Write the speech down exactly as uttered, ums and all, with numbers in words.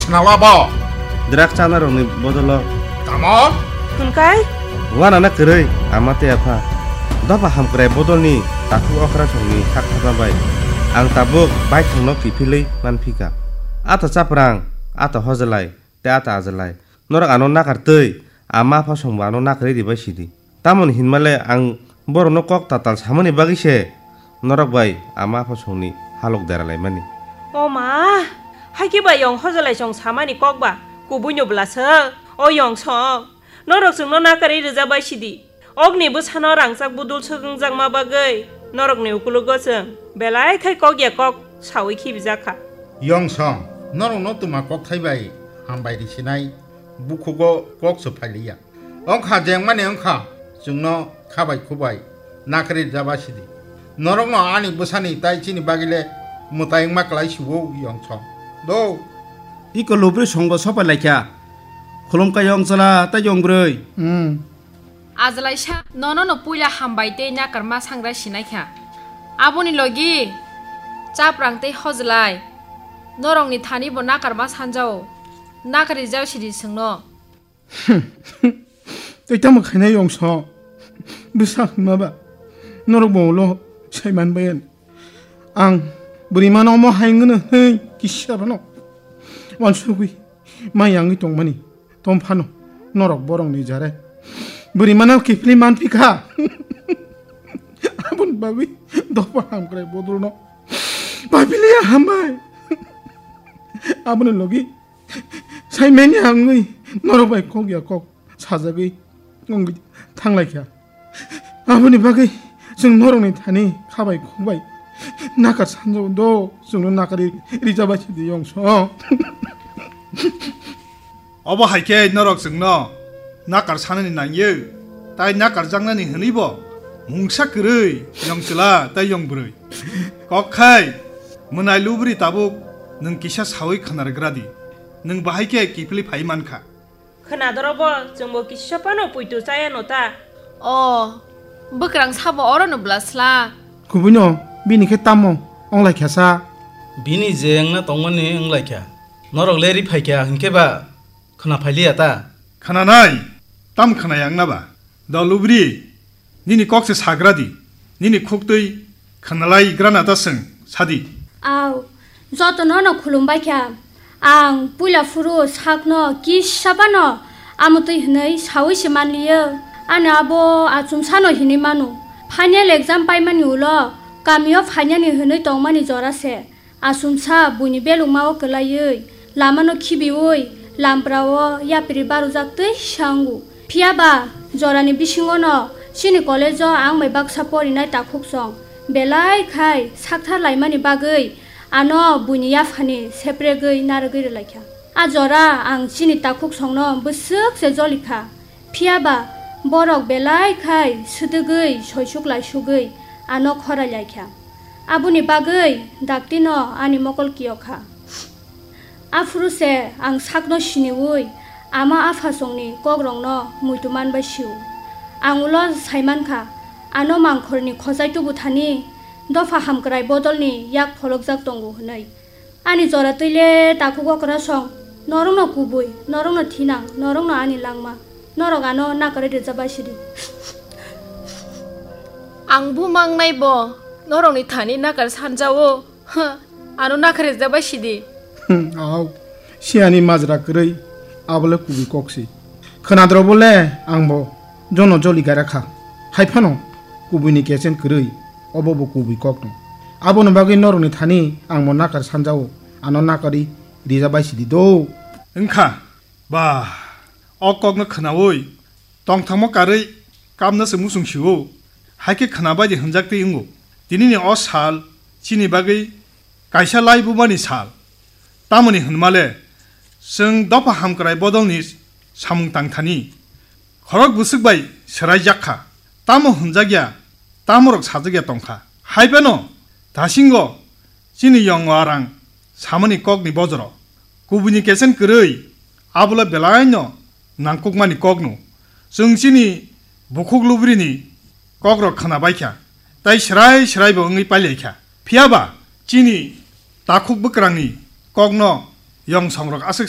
Khna la bo. Drugs chanarokni bodolo. Tamo? Hwnkai? Uanana kwrwi, ama tei apha. Dopha hamkrai bodolni takhuk okra songni sak thapna bai ang tabuk baithangno kiphilwi manphika. Ata chaprang, ata hojelai, tei ata ajelai. Norok ano nakar twi, ama apha songbo ano nakarwi ribai sidi. Tamoni hinmale ang borokno kok tatal samani bagwi se norok bai ama apha songni halok dera laimani. O ma, haikhe bai yong hojelai song samani kok ba, kubuino bwla se, o yong song. Norok chwngno nakarwi rwjabai sidi. Okni bwsano rangchak budul swk wngjakma bagwi norokni ukulogo chwng belai khai kok ya kok saui khibijak kha. Yong song, norokno twma kokthai bai hambai risinai bukhugo kok se phailiya. Wngkha jengmani wngkha, chwngno khabai khubai nakarwi rwjaba sidi. Norokno ani bwsani tai chini bagwile mwtai wngma kwlai siwo yong song. Do. Iko lubri songbo sopai laikha. Khulumkha yong chwla tei yong bwrwi. Hmm. Ajalaisa, nono no puila hambai tei nakarma sangra sinaikha. Aboni logi chaprang tei hojelai. Norokni thani bo nakarma sanjao. Nakari jao sidi chwngno. Tei tamo khainai yong song. Bwsa hwnma ba. Norok bo ulo sai man bayan. Ang bwrwi mano omo hai wngno hwnwi kisa phano wansugwi mai yangwi tongmani. Tom phano norok borokni jare bwrwi mano kiphilwi manphi kha. Aboni bagwi dopha hamkrai bodolno paphiliya hambai. Aboni logi Saimanya wngwi norok bai kok ya kok sajagwi wngwi thanglaikha. Aboni bagwi chwng norokni thani khabai khukbai nakar sanjao do chwngno nakari rijabai sidi yong song. Obo hai khe norok chwngno nakar sanani nangyo, tai nakar jaknani hwnwibo mungsa kwrwi yong chwla tai yong bwrwi. Kok khai, mwnai lubri tabuk nwng kisa saui khwnarwgra di, nwng bahai khe kiphilwi phai man kha. Khwnadorobo chwngbo kisa phano puitu chaya no ta. O, bwkrang sabo orono bwla sla. Kubuino bini khe tamo wnglaikha sa? Bini je wngna tongmani wnglaikha. Norok le ri phaikha hinkhe ba khwna phailiya ta? Khwnanai, tam khwnaya wngna ba? Do lubri, nini kok se sagra di, nini khuktwi khwnalai grana ta chwng sadi. Au, jotono no khulumbai kha. Ang puila phuru sakno kisa phano amotwi hwnwi saui se manliyo. Ani abo achomsano hinwi mano. Final exam paimani ulo kamio phainani hwnwi tongmani jora se. Achomsa buini belukmao kwlaiwi lamano khibiwi lamprao yapri barujak twi sa wngo. Phiya ba jorani bisingono chini college-o ang bai baksa porinai takhuk song belai khai sakthar laimani bagwi ano buini yaphani sepregwi narwgwi rwlaikha. A jora ang chini takhuk songno bwswk se jolikha. Phiya ba borok belai khai swdwgwi soisuk laisugwi ano khorai laikha. Aboni bagwi daktino ani mokol kiyokha. Aphuru se ang sakno siniwi ama aphasongni kokrokno muitu manbai sio. Ang ulo saimankha, ano mangkhorni khojai tubu thani dopha hamkrai bodolni yak pholokjak tongo hwnwi. Ani jora twi le takhuk okra song, norokno kubui, norokno thinang, norokno ani langma, norok ano nakarwi rwjabai sidi. Ang bumang nai bo, norokni thani nakar sanjao, ha, ano nakar rwjabai sidi. Hmm, au, siani majra kwrwi, abole kubui kok si. Khwnadrobo le ang bo jono joli gara kha. Hai phano kubuini kechen kwrwi, obo bo kubui kok no. Aboni bagwi norokni thani ang bo nakar sanjao, ano nakarwi rija bai sidi do. Wngkha, ba, o kokno khwnaui tongthangmo karwi kamna se muchung sio, hai khe khwna bai di hwnjak twi wngo. Tinini o sal chini bagwi kaisa laibumani sal. Tamoni hwnmale, chwng dopha hamkrai bodolni samung tangthani khorok bwswk bai swraijak kha. Tamo hwnjak ya, tamorok sajak ya tong kha. Hai phano dasingo chini yong arang samani kokni bojoro kubuini kechen kwrwi, abola belaino nangkukmani kokno. Chwng chini bukhuk lubrini kokrok khwna bai kha, tai srai srai bo wngwi pailai kha. Phiya ba chini takhuk bwkrangni kokno yong songrok aswk